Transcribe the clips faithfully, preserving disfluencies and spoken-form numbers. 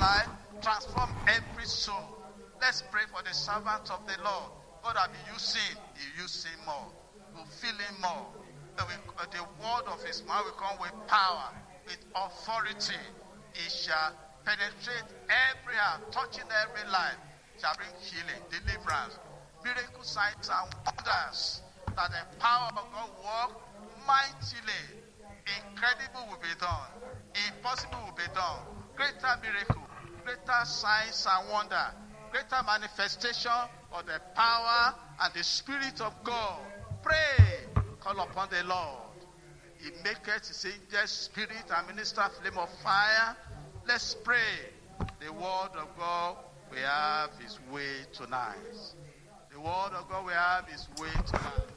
life, transform every soul. Let's pray for the servant of the Lord. God will be using, He use him more, will fill him more. The, the word of his mouth will come with power, with authority. It shall penetrate every heart, touching every life, shall bring healing, deliverance, miracle signs and wonders. That the power of God work mightily. Incredible will be done. Impossible will be done. Greater miracle, greater signs and wonder, greater manifestation of the power and the Spirit of God. Pray. Call upon the Lord. He maketh his angel spirit and minister flame of fire. Let's pray. The word of God will have his way tonight. The word of God will have his way tonight.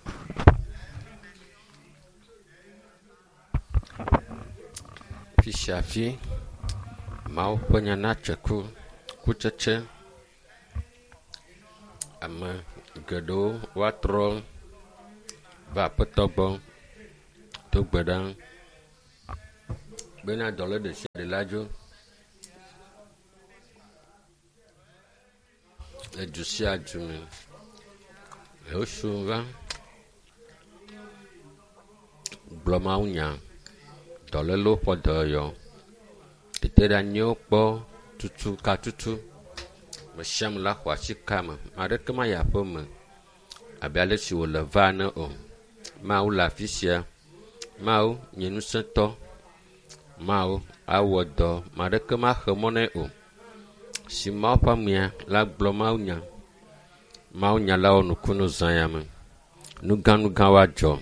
Fi sia fi, Mawu ƒe nya natse ku, kutsetse. Ame geɖewo woatrɔ va Aƒetɔ gbɔ do gbe ɖa bena dɔlé ɖe sia ɖe la dzo. Le du sia du me. Yehosu va gblɔ Mawu nya. Dɔlélewo ƒe dɔyɔyɔ. Teteɖeanyiwo kpɔ tutu katutu. Me sia ame la xɔ asi kame. Ame aɖeke mayi aƒe me abe ale si wòle va ene o. Mawu le afi sia. Mawu nye ŋusẽtɔ. Mawu awɔ dɔ. Ame aɖeke maxe mɔ nɛ o. Si Mawu ƒe amea la gblɔ Mawu nya. Mawu nya la wɔ nukunu zã ya me. Nugãnugã woadzɔ.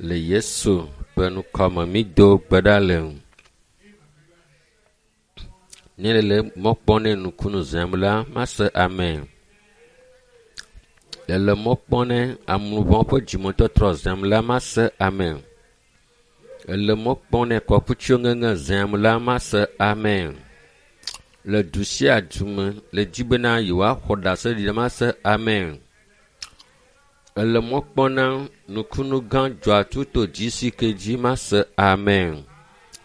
Le Yesu ƒe ŋkɔme mído gbe ɖa le. Ne le mɔ kpɔm ne nukunu zãm la, mase amen. Le le mɔ kpɔm ne ameʋɔ ƒe dzimetɔtrɔ zãm la, mase amen. Le mɔ kpɔm ne kɔkutsiwo ŋeŋe zãm la, mase amen. Le du sia du me, le dzi bena yewoaxɔ ɖaseɖiɖi la, mase amen. Le mɔ kpɔm na nukunu gã dzɔatsu to dzi si ke dzi, mase amen.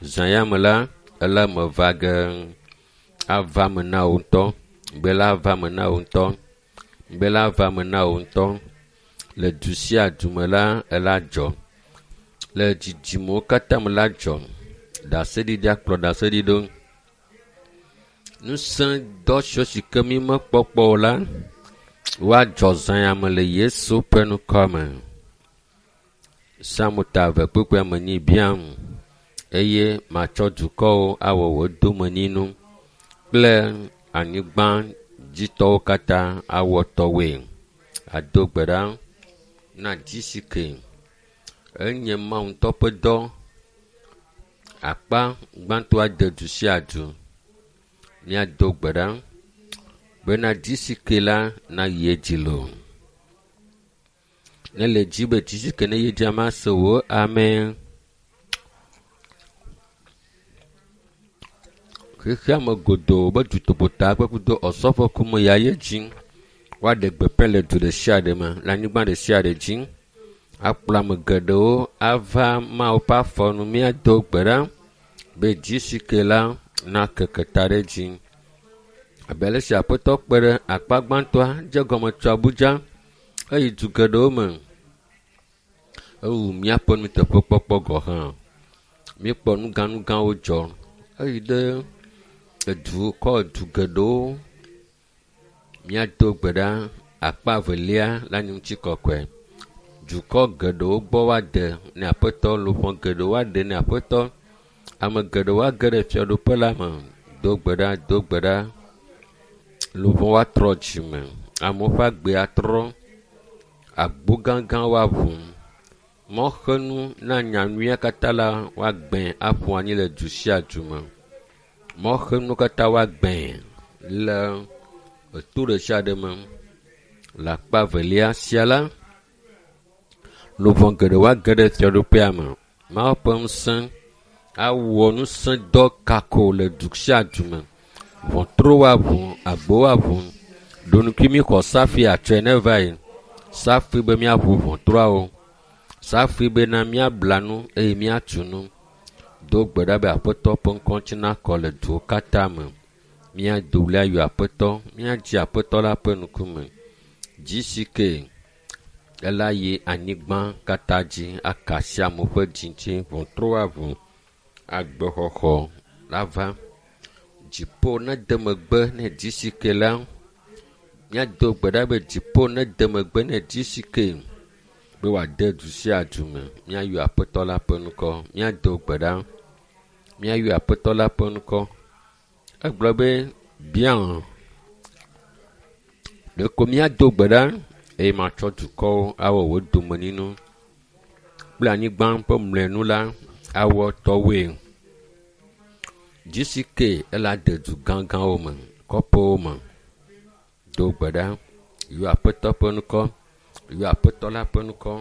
Zã ya me la, ele me va ge. Ava me na wò ŋutɔ. Gbe la ava me na wò ŋutɔ. Gbe la ava me na wò ŋutɔ. Le du sia du me la, ela dzɔ. Le dzidzimewo katã me la dzɔ. Ɖaseɖiɖi akplɔ ɖaseɖiɖi ɖo. Ŋusẽ dɔ siwo si ke mi mekpɔkpɔ o la, woadzɔ zã ya me le Yesu ƒe ŋkɔ me. Psalmo ta eve kpukpui ame enyi biam eye matsɔ dukɔwo awɔ wò domenyinu kple anyigbadzitɔwo katã awɔ tɔwoe. Ado gbe ɖa na dzi si ke enye Mawu ŋutɔ ƒe dɔ. Akpa gbãtɔa de du sia du. Míado gbe ɖa bena dzi si ke la nayi edzi loo. Ne le dzi be dzi si ke ne yi edzi mase wò amen. Xexea me godoo be dutoƒota kple kudo ɔsɔƒe kume ya ye dzi. Woaɖe gbeƒã le du ɖe sia ɖe me, le anyigba ɖe sia ɖe dzi. Akplɔ ame geɖewo ava Mawu ƒe afɔnu. Míado gbe ɖa be dzi si ke la nakeke ta ɖe dzi. Abe ale si Aƒetɔ kpe ɖe akpa gbãtɔa dze gɔme tso Abuja eyi du geɖewo me. Ewu míaƒe nuteƒekpɔkpɔ gɔ hã. Míekpɔ nugãnugãwo dzɔ. Eyi ɖe edu kɔ du geɖewo. Míado gbe ɖa akpa evelia la nye ŋutikɔkɔe. Dukɔ geɖewo gbɔ woade ne Aƒetɔ, luʋɔ geɖewo woaɖe ne Aƒetɔ. Ame geɖewo woage ɖe fiaɖuƒe la me. Do gbe ɖa, do gbe ɖa. Luʋɔ woatrɔ dzime. Amewo ƒe agbe atrɔ. Agbo gãgã woaʋu. Mɔxenu na nyanyuia katã la woagbẽ aƒu anyi le du sia du me. Mɔxenu katã woagbẽ le eto ɖe sia ɖe me. Le akpa evelia sia la, luʋɔ geɖe woage ɖe fiaɖuƒea me. Mawu ƒe ŋusẽ awɔ ŋusẽdɔ kako le du sia du me. Ʋɔtru woaʋu, agbo woaʋu. Ɖonukui mi xɔ safi atsɔe ne va yi. Safi be míaʋu ʋɔtruawo. Safi bena míabla nu eye míatu nu. Do gbe ɖa be Aƒetɔ ƒe ŋkɔ ŋuti nakɔ le duwo katã me. Míado ɣli ayɔ Aƒetɔ, míadzi Aƒetɔ la ƒe ŋkume. Dzi si ke ela yi anyigba katã dzi aka asi amewo ƒe dzi ŋuti, ʋɔtru aʋu, agbexɔxɔ la va. Dziƒo nede megbe ne dzi si ke la, míado gbe ɖa be dziƒo nede megbe ne dzi si ke be wòade du sia du me. Míayɔ Aƒetɔ la ƒe ŋkɔ, míado gbe ɖa, míayɔ Aƒetɔ la ƒe ŋkɔ. Egblɔ be bia ɖeko míado gbe ɖa eye matsɔ dukɔwo awɔ wò domenyinu kple anyigba ƒe mlɔenu la awɔ tɔwoe. Dzi si ke ela de du gãgãwo me, kɔƒewo me. Do gbe ɖa, yɔ Aƒetɔ ƒe ŋkɔ, yɔ Aƒetɔ la ƒe ŋkɔ.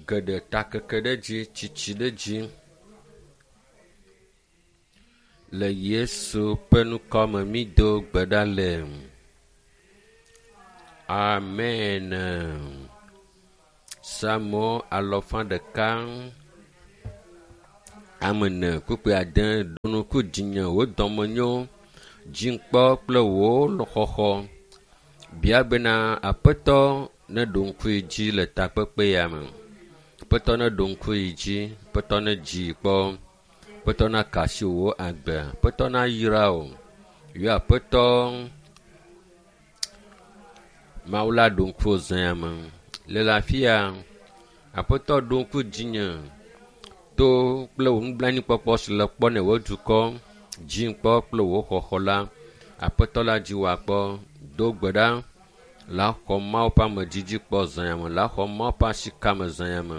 Geɖe takeke ɖe dzi, tsitsi ɖe dzi. Le Yesu ƒe ŋkɔ me mído gbe ɖa le. Amen. Psalmo alɔfa ɖeka ame ene kpukpui ade ɖo ŋku dzinye wò dɔmenyo, dziŋkpɔ kple wò xɔxɔ. Bia bena Aƒetɔ neɖo ŋku yi dzi le takpekpe ya me. Aƒetɔ neɖo ŋku yi dzi, Aƒetɔ nedzi kpɔ, Aƒetɔ naka asi wò agbe, Aƒetɔ nayra wò. Yɔ Aƒetɔ Mawu la ɖo ŋku wò zã ya me. Le le afi ya, Aƒetɔ ɖo ŋku dzinye to kple wò nublanuikpɔkpɔ si le kpɔ ne wò dukɔ, dziŋkpɔ kple wò xɔxɔ la. Aƒetɔ la dzi wò akpɔ. Do gbe ɖa la xɔ Mawu ƒe amedzidzi kpɔ zã ya me, la xɔ Mawu ƒe asikame zã ya me.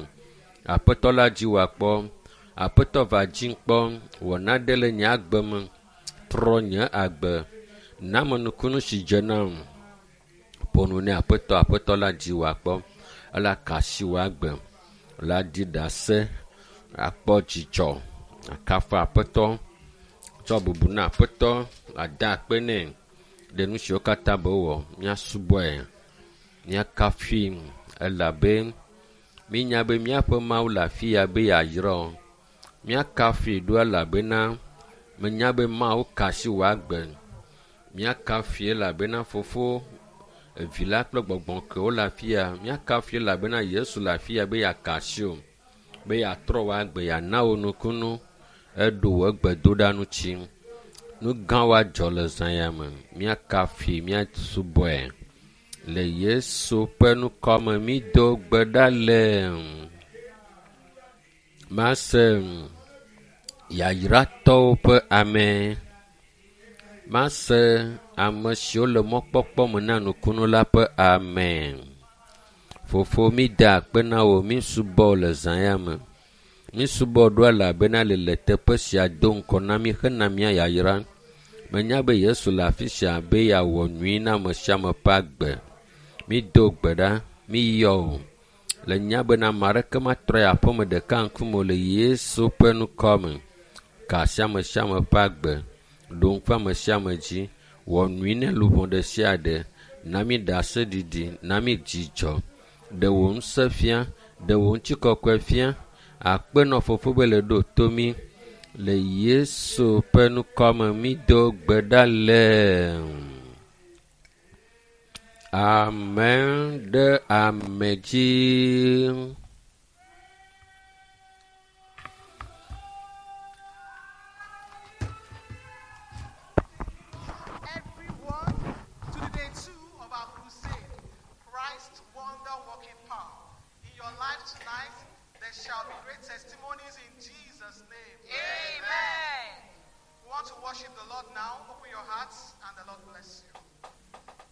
Aƒetɔ la dzi wò akpɔ. Aƒetɔ va dziŋkpɔ, wɔ naɖe le nye agbe me, trɔ nye agbe, na ame nukunu si dze nam. Ƒo nu nɛ Aƒetɔ, Aƒetɔ la dzi wò akpɔ. Ela ka asi wò agbe, la ɖi ɖase, akpɔ dzidzɔ, akafu Aƒetɔ, tsɔ bubu na Aƒetɔ, ada akpe nɛ ɖe nu siwo katã be wɔ. Míasubɔe, míakafui elabe mínya be míaƒe Mawu le afi ya be yeayra wò. Míakafui ɖo elabena menya be Mawu ka asi wò agbe. Míakafui elabena Fofo, Evi la kple Gbɔgbɔ kewo le afi ya. Míakafui elabena Yesu le afi ya be yeaka asi wò, be yeatrɔ wò agbe, yeana wò nukunu. Eɖo wò gbedoɖa ŋuti. Nu gãwo adzɔ le zã ya me. Míakafui, míasubɔe. Le Yesu ƒe ŋkɔ me mído gbe ɖa le. Mase yayratɔwo ƒe ame. Mase ame siwo le mɔkpɔkpɔ me na nukunu la ƒe ame. Fofo mída akpe na wò, mísubɔ wò le zã ya me. Mísubɔ ɖo elabena le le teƒe sia do ŋkɔ na mí hena mía yayra. Menya be Yesu le afi sia be yeawɔ nyui na ame sia ame ƒe agbe. Mído gbe ɖa, míyɔ wò. Le nya bena ame aɖeke matrɔ yi aƒeme ɖeka ŋkume o le Yesu ƒe ŋkɔ me. Ka asi ame sia ame ƒe agbe, ɖo ŋku ame sia ame dzi, wɔ nyui ne luʋɔ ɖe sia ɖe, na mí ɖaseɖiɖi, na mí dzidzɔ, ɖe wò ŋusẽ fia, ɖe wò ŋutikɔkɔe fia. Akpe nɔ Fofo be le ɖo to mí. Le Yesu ƒe ŋkɔ me mído gbe ɖa le. Amen ɖe ame dzi. Everyone to the day two of our crusade, Christ's wonder working power. In your life tonight, there shall be great testimonies in Jesus' name. Amen. We want to worship the Lord now. Open your hearts and the Lord bless you.